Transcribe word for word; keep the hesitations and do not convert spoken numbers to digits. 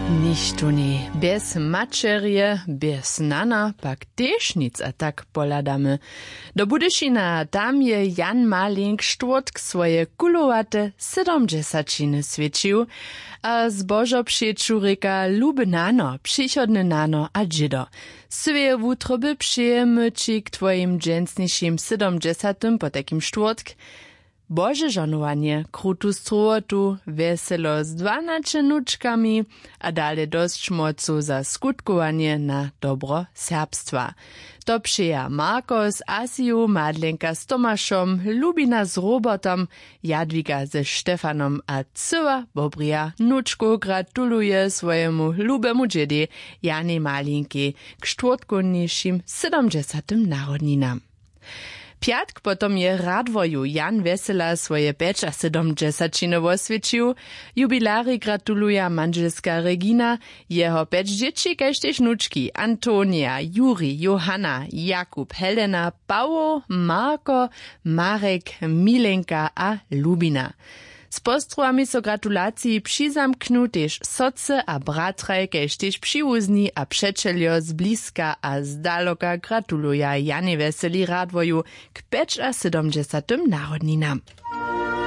Nichtó njej bjez maćerje, bjez nana pak tež nic, a tak pohladamy do Budyšina. Tam je Jan Malink štwórtk swoje kulowate sydomdźesaćiny swjećił a zbožo přeću rěka: Luby nano, přichodny nano a dźědo, swěje wutroby přejemy ći k twojim dźensnišim sydomdźesatym, potajkim štwórtk, Bože žohnowanje, krutu strowotu, wjeselo z dwanaće nučkami a dale dosć mocu za skutkowanje na dobro serbstwa. To přeja Marko z Asiju, Madlenka z Tomašom, Lubina z Robertom, Jadwiga ze Štefanom a cyła bobrija nučkow gratuluje swojemu lubemu dźědej Janej Malinkej k štwórtkownišim sydomdźesatym narodninam. Pjatk potom je w Radworju Jan Wjesela swoje pjećasydomdźesaćiny woswjećił. Jubilarjej gratuluja mandźelska Regina, jeho pjeć dźěći kaž tež nučki: Antonija, Juri, Johanna, Jakub, Helena, Pawoł, Marko, Marek, Milenka a Lubina. Z postrowami so gratulaciji přizamknu tež sotře a bratraj, kaž tež přiwuzni a přećeljo z bliska a z daloka gratuluja Janej Wjeseli Radworju k pjećasydomdźesatym narodninam.